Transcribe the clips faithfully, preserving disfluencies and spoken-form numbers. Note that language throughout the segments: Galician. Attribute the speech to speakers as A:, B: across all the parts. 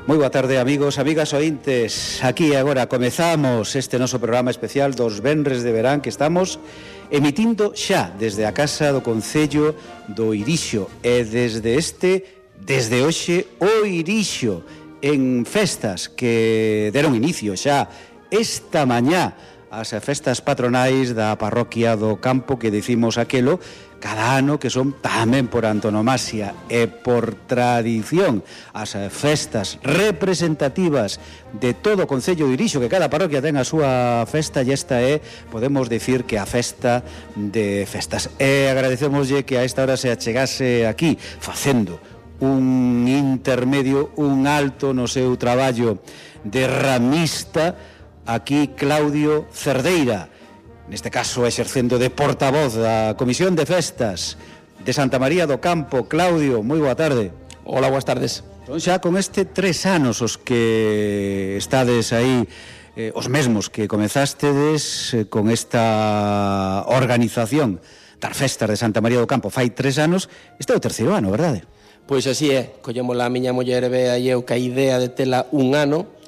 A: Moi boa tarde, amigos, amigas ointes. Aquí agora comezamos este noso programa especial dos venres de verán que estamos emitindo xa desde a Casa do Concello do Irixo. E desde este, desde hoxe, o Irixo en festas que deron inicio xa esta mañá as festas patronais da parroquia do Campo, que dicimos aquelo cada ano, que son tamén por antonomasia e por tradición as festas representativas de todo o Concello de Irixo, que cada parroquia ten a súa festa, e esta é, podemos dicir, que a festa de festas. E agradecemoslle que a esta hora se achegase aquí facendo un intermedio, un alto no seu traballo de ramista, aquí Claudio Cerdeira, neste caso exercendo de portavoz da Comisión de Festas de Santa María do Campo. Claudio, moi boa tarde.
B: Hola, boas tardes.
A: Son xa con este tres anos os que estades aí, eh, os mesmos que comezastedes eh, con esta organización das festas de Santa María do Campo fai tres anos. Este é o terceiro ano, verdade?
B: Pois así é, collemos a miña muller Bea e eu ca idea de tela un ano.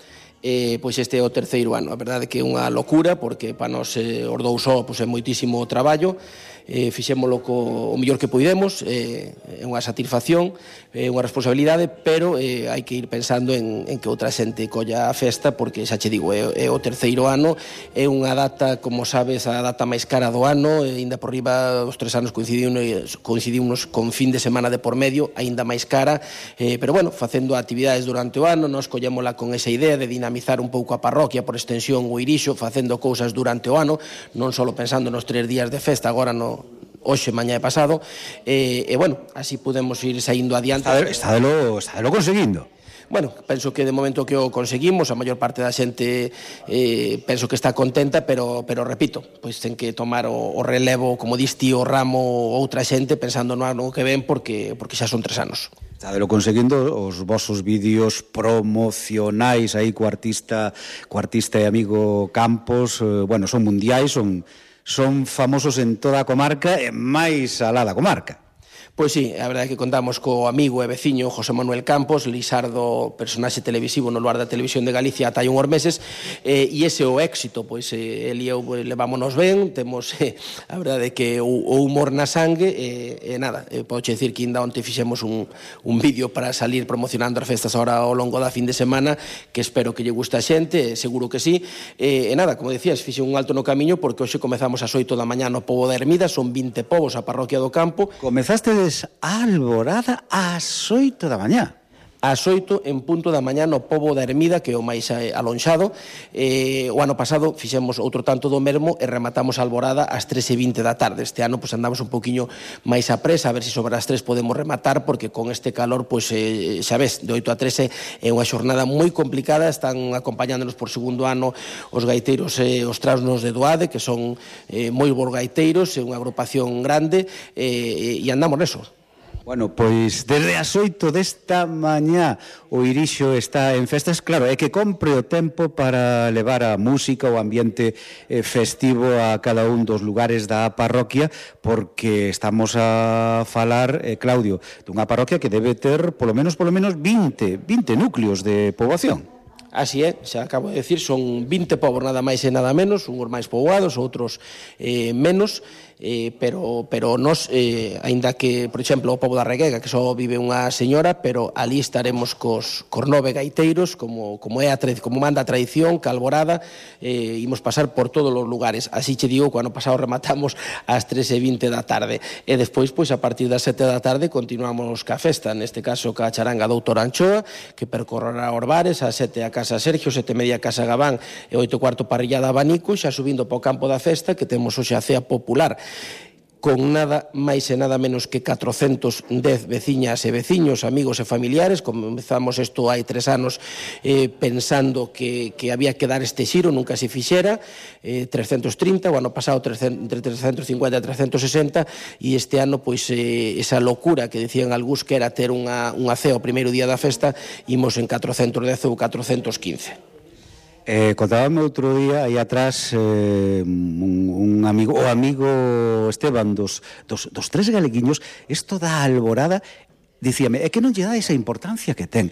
B: Eh, pois este é o terceiro ano. A verdade que é unha locura, porque para nós eh, os dous só pois, é moitísimo traballo. Eh, fixémolo co o mellor que puidemos, eh, é unha satisfacción, é unha responsabilidade, pero eh, hai que ir pensando en, en que outra xente colla a festa, porque xa che digo, é, é o terceiro ano, é unha data, como sabes, a data máis cara do ano, e ainda por riba os tres anos coincidimos, coincidimos con fin de semana de por medio, aínda máis cara, eh, pero bueno, facendo actividades durante o ano, nos collémola con esa idea de dinamizar un pouco a parroquia, por extensión o Irixo, facendo cousas durante o ano, non só pensando nos tres días de festa, agora no hoxe, mañá e pasado, e, e bueno, así podemos ir saindo adiante.
A: Está de lo, está de lo conseguindo.
B: Bueno, penso que de momento que o conseguimos, a maior parte da xente eh, penso que está contenta, pero, pero repito, pois ten que tomar o, o relevo, como dis ti, o ramo outra xente, pensando no ano que ven, porque, porque xa son tres anos.
A: Está de lo conseguindo, os vosos vídeos promocionais aí co artista, co artista e amigo Campos, eh, bueno, son mundiais, son... son famosos en toda a comarca e máis alá da comarca.
B: Pois sí, a verdade é que contamos co amigo e veciño José Manuel Campos, Lisardo, personaxe televisivo no lugar da Televisión de Galicia ata hai unhos meses, eh, e ese é o éxito, pois eh, el e eu levámonos ben, temos eh, a verdade é que o, o humor na sangue, e eh, eh, nada, eh, podo dicir que ainda onte fixemos un, un vídeo para salir promocionando as festas ahora ao longo da fin de semana, que espero que lle guste a xente, seguro que sí, e eh, eh, nada, como decías, fixe un alto no camiño, porque hoxe comezamos ás oito da mañá no Pobo da Ermida, son vinte povos a parroquia do Campo.
A: Comezaste a alborada ás oito da mañá.
B: Ás oito en punto da mañá no Pobo da Ermida, que é o máis alonxado. Eh, o ano pasado fixemos outro tanto do mesmo e rematamos a alborada ás tres e vinte da tarde. Este ano pues, andamos un poquinho máis a presa, a ver se sobre as tres podemos rematar, porque con este calor, pues, eh, xa ves, de oito a tres é unha xornada moi complicada. Están acompañándonos por segundo ano os gaiteiros e eh, os trasnos de Doade, que son eh, moi bons gaiteiros, é unha agrupación grande, eh, e andamos neso.
A: Bueno, pois desde as oito desta mañá o Irixo está en festas. Claro, é que compre o tempo para levar a música, o ambiente eh, festivo a cada un dos lugares da parroquia, porque estamos a falar, eh, Claudio, dunha parroquia que debe ter polo menos polo menos vinte, vinte núcleos de poboación.
B: Así é, xa acabo de decir, son vinte povos nada máis e nada menos, uns máis poboados, outros eh, menos, eh, pero, pero nos, eh, aínda que, por exemplo, o pobo da Reguega, que só vive unha señora, pero ali estaremos cos, cos nove gaiteiros, como, como, é a, como manda a tradición, que alborada, eh, imos pasar por todos os lugares. Así che digo, que o ano pasado rematamos ás tres e vinte da tarde, e despois, pois, a partir das sete da tarde, continuamos ca festa, neste caso ca charanga Doutor Anchoa, que percorrerá os bares, a sete a Casa Sergio, sete e media Casa Gabán e oito cuarto Parrillada Abanico, xa subindo para o campo da festa, que temos hoxe a cea popular, con nada máis e nada menos que catrocentos dez veciñas e veciños, amigos e familiares. Comezamos isto hai tres anos eh, pensando que, que había que dar este xiro, nunca se fixera, eh, trescentos trinta, o ano pasado entre trescentos cincuenta e trescentos sesenta, e este ano, pois, eh, esa locura que decían algúns que era ter unha, unha cea o primeiro día da festa, imos en catrocentos dez ou catrocentos quince.
A: Eh, contábame outro día aí atrás eh, un, un amigo, o amigo Esteban dos, dos, dos tres galeguiños, isto da alborada, dicíame, é que non lle dá esa importancia que ten.